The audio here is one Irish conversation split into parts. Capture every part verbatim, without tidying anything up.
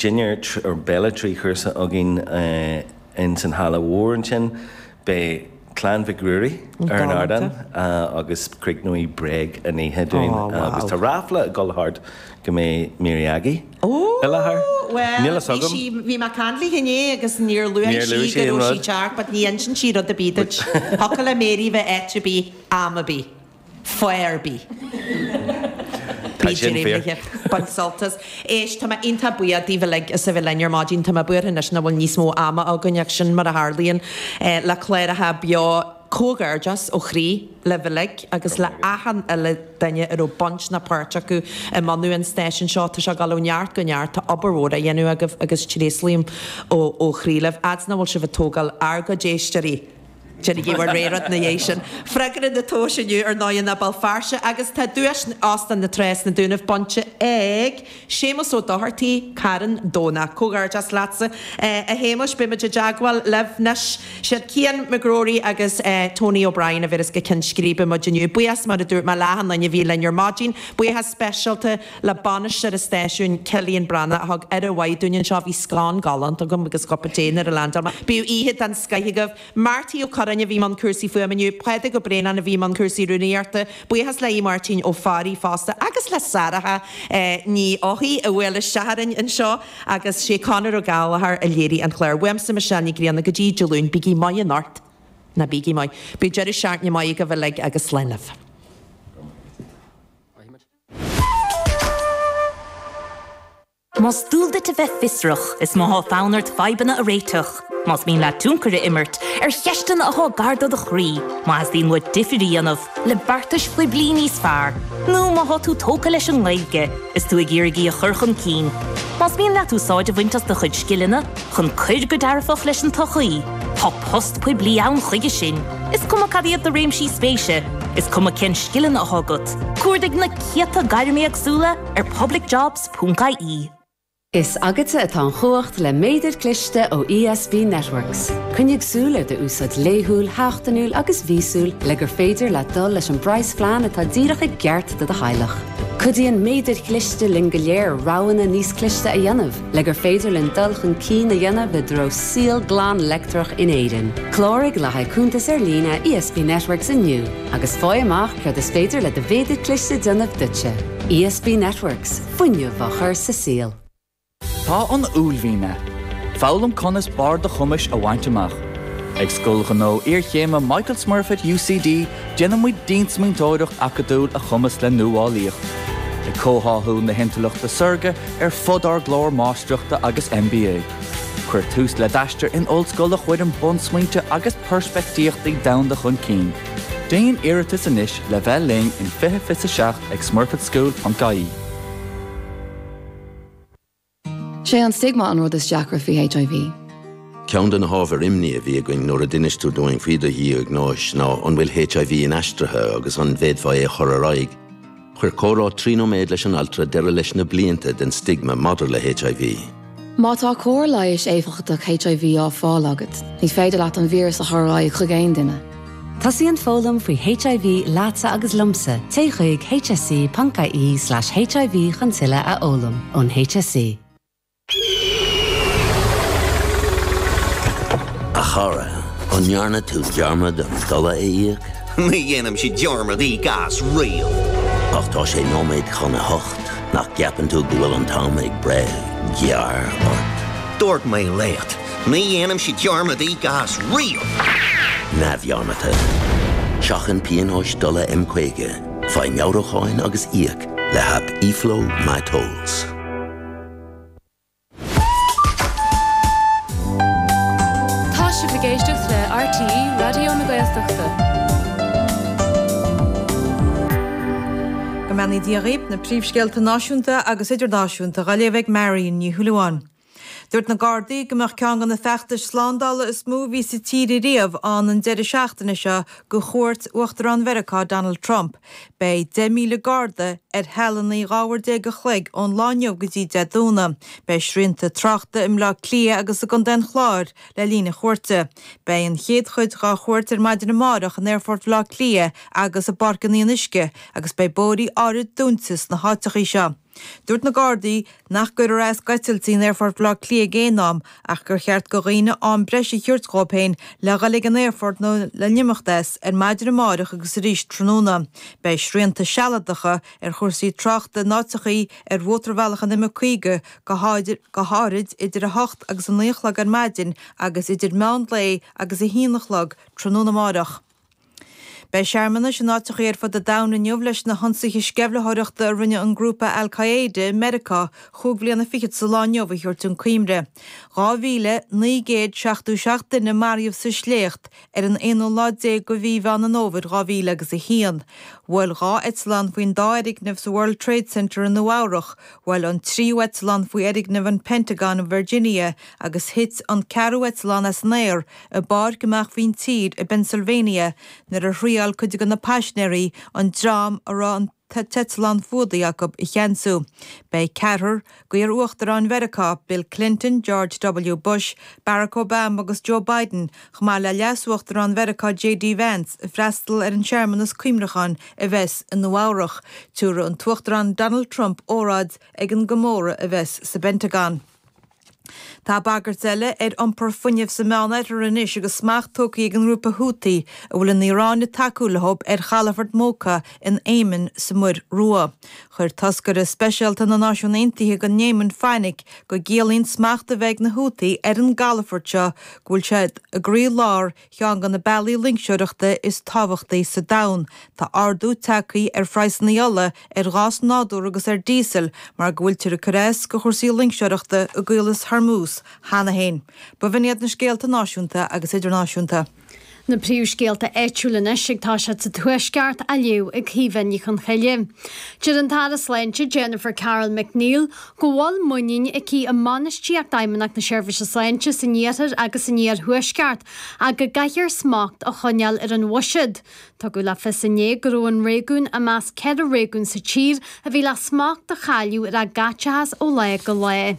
Dinnéar or béile trí chúrsa againn ins an halla mhór ansin. Beidh Clann Mhic Ruairí ar an ardán agus críochnóidh Bréag an oíche dúinn agus tá ráfla ag dul thart go mbeidh Mary Aggie i láthair. Bhuel, Níl fhios bhí agam. sí, bhí mé ag caint léi inné agus níor luaigh Níor sí luaigh sí go an raibh sí rud. ag teacht but ní insíonn sí rud ar bith duit. Thiocfadh le Mary bheith áit ar bith, am ar bith, fáth ar bith. Tá Bí sin fíor. réimnithe. Bain sult as. Éist, tá mé iontach buíoch daoibh uilig as a bheith linn ar maidin. Tá mé buartha anois nach bhfuil níos mó ama againn ach sin mar a tharlaíonn le cláracha beo. Comhghairdeas ó chroí libh uilig agus le achan uile duine a raibh baint ná páirt acu i mbunú an stáisiúin seo. Tá sé ag dul ó neart go neart, tá obair mhór á dhéanamh agaibh agus tréaslaím ó chroí libh. Fhad 's nach bhfuil sibh ag tógáil ár gcuid éisteoirí. Déanaigí bhur rogha rud ina dhiaidh sin. Freagra na tomhais inniu ar ndóigh ná Béal Feirste agus tá duais Óstán na Trá sna Dúnaibh bainte ag Séamus Ó Dochartaigh, Carn Domhnach. Comhghairdeas leatsa a Shéamuis. Beidh muid i dteagmháil libh anois. Siad Cian McGrory agus Tony O'Brien a bhéaras go Ceann Scríbe muid inniu. Buíochas mar a dúirt mé le achan duine a bhí linn ar maidin. Buíochas speisialta le bainisteoir an stáisiúin Cillian Breathnach a thug aire mhaith dúinn anseo. Bhí scone galánta agam agus cupa tae nuair a leaindeáil mé. Bíodh oíche den scoith agaibh. Marty Ó Curráin a bhí i mbun cúrsaí fuaime inniu, Pádraig Ó Braonáin a bhí i mbun cúrsaí rúnaíochta, buíochas le Aodh Máirtín Ó Fearraigh fosta agus le Sarah Ní Eochaidh a bhuail isteach orainn anseo agus sé Conor Ó Gallchóir a léirigh an clár. Uaimse Michelle Ní Ghrianna go dtí Dé Luain, bígí maith anocht. Ná bígí maith. Bíodh deireadh seachtaine maith agaibh uilig agus slán libh. Más dual duit a bheith fiosrach, is má thá fonn ort fadhbanna a réiteach, más mian leat tionchar a imirt ar cheisteanna athá gar do do chroí, má theastaíonn uait difir a dhéanamh le beartais phoiblí níos fearr, nó má thá tú tógtha leis an nGaeilge is tú ag iarraidh í a chur chun cinn, más mian leat úsáid a bhaint as do chuid scileanna chun cur go dearfach leis an tsochaí, tá post poiblí ann chuige sin. Is cuma cad iad do réimsí spéise, is cuma cén scileanna athá agat, cuardaigh na céadta gairm éagsúla ar publicjobs ponc ie. Is agatsa atá an chumhacht le méadar cliste ó ESB Networks. Coinnigh súil ar d'úsáid laethúil, sheachtainiúil agus mhíosúil le gur féidir leat dul leis an bpraghasphlean atá díreach i gceart do do theaghlach. Cuidíonn méadair chliste linn go léir roghanna níos cliste a dhéanamh le gur féidir linn dul chun cinn a dhéanamh i dtreo saol glan leictreach in Éirinn. Cláraigh le haghaidh cuntas ar líne ESB Networks inniu agus faigh amach céard is féidir le do mhéadar cliste déanamh duitse. ESB Networks, fuinneamh á chur sa saol. Tá an uaillmhian ann. Foghlaim conas barr do chumais a bhaint amach. Ag Scoil Ghnó Iarchéime Michael Smurfit UCD déanann muid diansmaointeoireacht acadúil a chumasc le nuálaíocht. Ag comhtháthú na hintleachta saorga ar fud ár gclár máistreachta agus MBA. Cuir tús le d'aistear in ollscoil a chuireann bunsmaointe agus peirspictíochtaí domhanda chun cinn. Déan iarratas anois le bheith linn in fiche fiche a seacht ag smurfitschool.ie. Sé an stigma an rud is deacra faoi HIV. Ceann de na hábhair imní a bhí againn nuair a d'inis tú dúinn faoi do dhiagnóis ná an bhfuil HIV inaistrithe agus an bhféadfá é a chur ar aghaidh. Chuir comhrá trí nóiméad leis an altra deireadh leis na blianta den stigma maidir le HIV. Má tá cóir leighis éifeachtach HIV á fáil agat, ní féidir leat an víreas a chur ar aghaidh chuig aon duine. Tosaíonn foghlaim faoi HIV leatsa agus liomsa, téigh chuig hse.ie slash HIV chun tuilleadh a fhoghlaim ón HSE. A chara, an ndearna tú dearmad an dola a íoc? Ní dhéanaimse dearmad íoc as riamh. Ach tá sé nóiméad chun a hocht, nach gceapann tú go bhfuil an t-am ag breith gearr ort. Dúirt mé leat, ní dhéanaimse dearmad íoc as riamh. Neamhdhearmadta. Seachain pionóis dola M caoga, faigh meabhrúcháin agus íoc le haip eFlow MyTolls. Tá sibh ag éisteacht le RTÉ Raidió na Gaeltachta. Go mbeannaí Dia dhaoibh na príomhscéalta náisiúnta agus idirnáisiúnta á léamh ag Marion Ní Shúilleabháin. Dúirt na Gardaí go mbeadh ceann de na feachtais slándála is mó a bhí sa tír riamh ann an deireadh seachtaine seo do chuairt Uachtarán Mheiriceá Donald Trump. Beidh deich míle garda ar shealanna dhá uair déag a chloig ón lá inniu go dtí Dé Domhnaigh. Beidh srianta tráchta i mBleá Cliath agus i gContae an Chláir le linn na cuairte. Beidh an chéad chuid dá chuairt ar maidin amárach in Aerfort Bhaile Átha Cliath agus i bPáirc an Fhionnuisce agus beidh bóithrí áirid dúnta sna háiteacha seo. Dúirt na Gardaí nach gcuirfear as d'eitiltí in Aerfort Bhaile Átha Cliath ag aon am ach gur cheart do dhaoine am breise a thabhairt dhóibh féin le dhul ag an aerfort nó le n-imeacht as ar maidin amárach agus arís tráthnóna. Beidh srianta sealadacha ar chúrsaí tráchta in áiteachaí ar mhótarbhealach an M caoga go háirid idir a hocht agus a naoi a chlog ar maidin agus idir meán lae agus a haon a chlog tráthnóna amárach. Beidh searmanais in áiteachaí ar fud an domhain inniu leis na hionsaithe sceimhlitheoireachta a rinne an grúpa Al Qaeda i Meiriceá chúig bhliana fichead sa lá inniu a thabhairt chun cuimhne. Dhá mhíle naoi gcéad seachtó seacht duine maraíodh sa sléacht ar an aonú lá déag de mhí Mheán an Fhómhair dhá mhíle agus a haon. Bhuail dhá eitleán faoin dá fhoirgneamh sa World Trade Center i Nua Eabhrach, bhuail an tríú eitleán faoi fhoirgneamh an Pentagon i Virginia agus thit an ceathrú eitleán as an aer i bpáirc amach faoin tír i bPennsylvania nuair a thriail cuid de na paisinéirí an dream a raibh an t-eitleán fuadaithe acu a cheansú. Beidh ceathrar d'iar-uachtaráin Mheiriceá, Bill Clinton, George W. Bush, Barack Obama agus Joe Biden, chomh maith le leas-uachtarán Mheiriceá J D Vance, ag freastal ar an searmanas cuimhneacháin a bheas i Nua Eabhrach. Tabharfaidh an tUachtarán Donald Trump óráid ag an gcomóradh a bheas sa bPentagon. Tá bagairt eile ar iompar fuinnimh sa Meánoirthear anois agus smacht tógtha ag an ngrúpa Houthi, a bhfuil an Iaráin ag tacú leo, ar chalafort Mocha in Éimin sa Muir Rua. Chuir toscaire speisialta na Náisiún Aontaithe don Éimin fainic go gciallaíonn smacht a bheith ag na Houthi ar an gcalafort seo go bhfuil siad i gcroílár cheann de na bealaí loingseoireachta is tábhachtaí sa domhan. Tá ardú tagtha ar phraghsanna ola, ar ghás nádúrtha agus ar díosal mar go bhfuiltear ag cur as do chúrsaí loingseoireachta i gCaolas Hormuz cheana féin. B'in iad na scéalta náisiúnta agus idirnáisiúnta. Na príomhscéalta áitiúla anois ag toiseacht sa Tuaisceart á léamh ag Caoimhe Ní Chonchoille. Deir an tAire Sláinte Jennifer Carroll MacNeill go bhfuil muinín aici i mbainistíocht Fheidhmeannacht na Seirbhíse Sláinte san iarthar agus san iarthuaisceart ach go gcaithfear smacht a choinneáil ar an bhuiséad. Tugadh le fios inné go raibh an réigiún i measc ceithre réigiún sa tír a bhí le smacht a chailleadh ar a gcaiteachas ó lá go lá.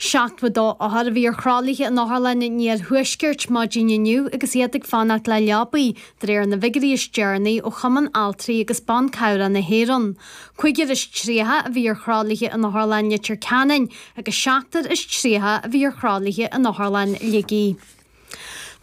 Seachtó a dó othar a bhí ar thralaithe in Otharlann an Iarthuaiscirt maidin inniu agus iad ag fanacht le leabaí, de réir na bhfigiúirí is deireanaí ó Chumann Altraí agus Ban Cabhrach na hÉireann. Cúigear is tríocha a bhí ar thralaithe in Otharlann Leitir Ceanainn agus seachtar is tríocha a bhí ar thralaithe in Otharlann Shligigh.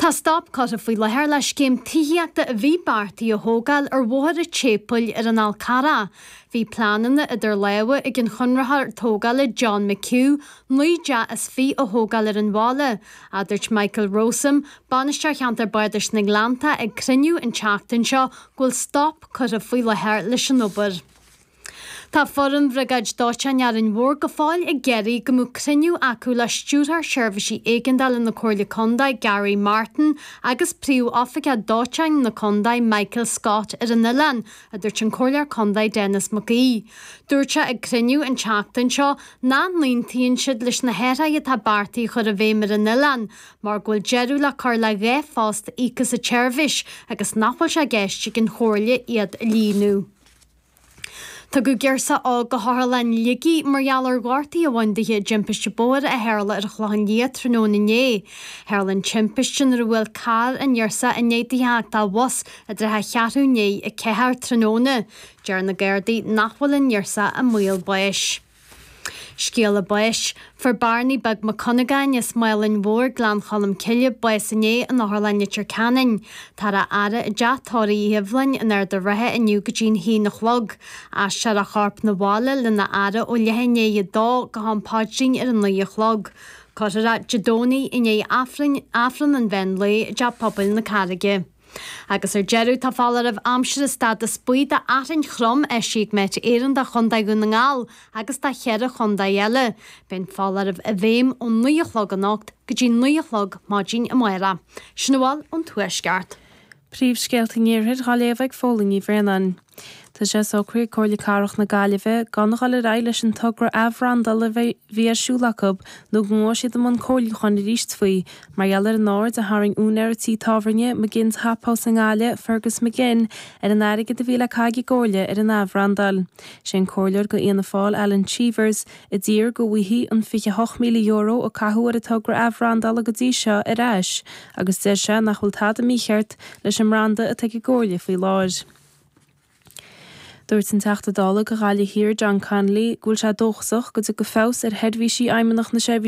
Tá stop curtha faoi láthair le scéim tithíochta a bhí beartaithe a thógáil ar Bhóthar an tSéipéil ar an Fhál Carrach. Bhí pleananna idir lámha ag an chonraitheoir tógála John McHugh naoi dteach is fiche a thógáil ar an bhaile, a dúirt Michael Rowsome, Bainisteoir Cheantar Bardais na nGleannta ag cruinniú an tseachtain seo go bhfuil stop curtha faoi láthair leis an obair. Tá foireann Bhriogáid Dóiteáin Árainn Mhór go fóill ag iarraidh go mbeadh cruinniú acu le Stiúrthóir Seirbhísí Éigeandála na Comhairle Contae Gary Martin agus Príomh-Oifigeach Dóiteáin na Contae Michael Scott ar an oileán, a dúirt an Comhairleoir Contae Denis Mac Aoidh. Dúirt sé ag cruinniú an tseachtain seo nach n-aontaíonn siad leis na hathruithe atá beartaithe a chur i bhfeidhm ar an oileán mar go bhfuil deireadh le cur le dhá phost íoctha sa tseirbhís agus nach bhfuil sé i gceist ag an Chomhairle iad a líonadh. Tugadh girseach óg go hOtharlann Shligigh mar gheall ar ghortaí a bhain di i dtimpiste bóthair a tharla ar an Chlochán Liath tráthnóna inné. Tharla an timpiste nuair a bhuail carr an ghirseach i ndiaidh di theacht de bhus i dtrátha cheathrú i ndiaidh a ceathair tráthnóna. Deir na Gardaí nach bhfuil an ghirseach i mbaol báis. Scéala báis. Fuair Barney Beag Mac Cunagáin as Málainn Mhór, Gleann Cholm Cille, bás inné in Otharlann Leitir Ceanainn. Táthar á fhaire i dteach tórraimh Uí Shibhleáin in Ard an Rátha inniu go dtí'n haon a chlog. Aistreofar a chorp 'na bhaile lena fhaire ó leath i ndiaidh a dó go ham paidrín ar a naoi a chlog. Cuirfear é Dé Domhnaigh i ndiaidh Aifreann an mheán lae i dTeach Pobail na Carraige. Agus ar deireadh, tá foláireamh aimsire stádas buí d'fhearthainn throm eisithe ag Met Éireann do Chontae Dhún na nGall agus do cheithre chontae eile. Beidh an foláireamh i bhfeidhm ón naoi a chlog anocht go dtí naoi a chlog maidin amárach. Sin a bhfuil ón Tuaisceart. Príomhscéalta an Iarthair á léamh ag Fódhla Ní Bhraonáin. Tá sé socraithe ag Comhairle Cathrach na Gaillimhe gan a dhul ar aghaidh leis an togra athbhrandála a bhí ar siúl acu nó go ngabhfaidh siad i mbun comhairliúcháin arís faoi mar gheall ar an aird a tharraing úinéir tí tábhairne McGinn's Hop House i nGaillimh, Fergus McGinn, ar an airgead a bhí le caitheamh ag an gComhairle ar an athbhrandáil. Sé an comhairleoir do Fhianna Fáil Alan Cheevers a d'iarr go bhfaighfí an fiche hocht míle euro a caitheadh ar an togra athbhrandála go dtí seo ar ais agus deir sé nach bhfuil tada mícheart leis an mbranda atá ag an gComhairle faoi láthair. Dúirt an Teachta Dála do Ghaillimh Thiar John Connolly go bhfuil sé dóchasach go dtiocfaidh feabhas ar sheirbhísí Fheidhmeannacht na Seirbhíse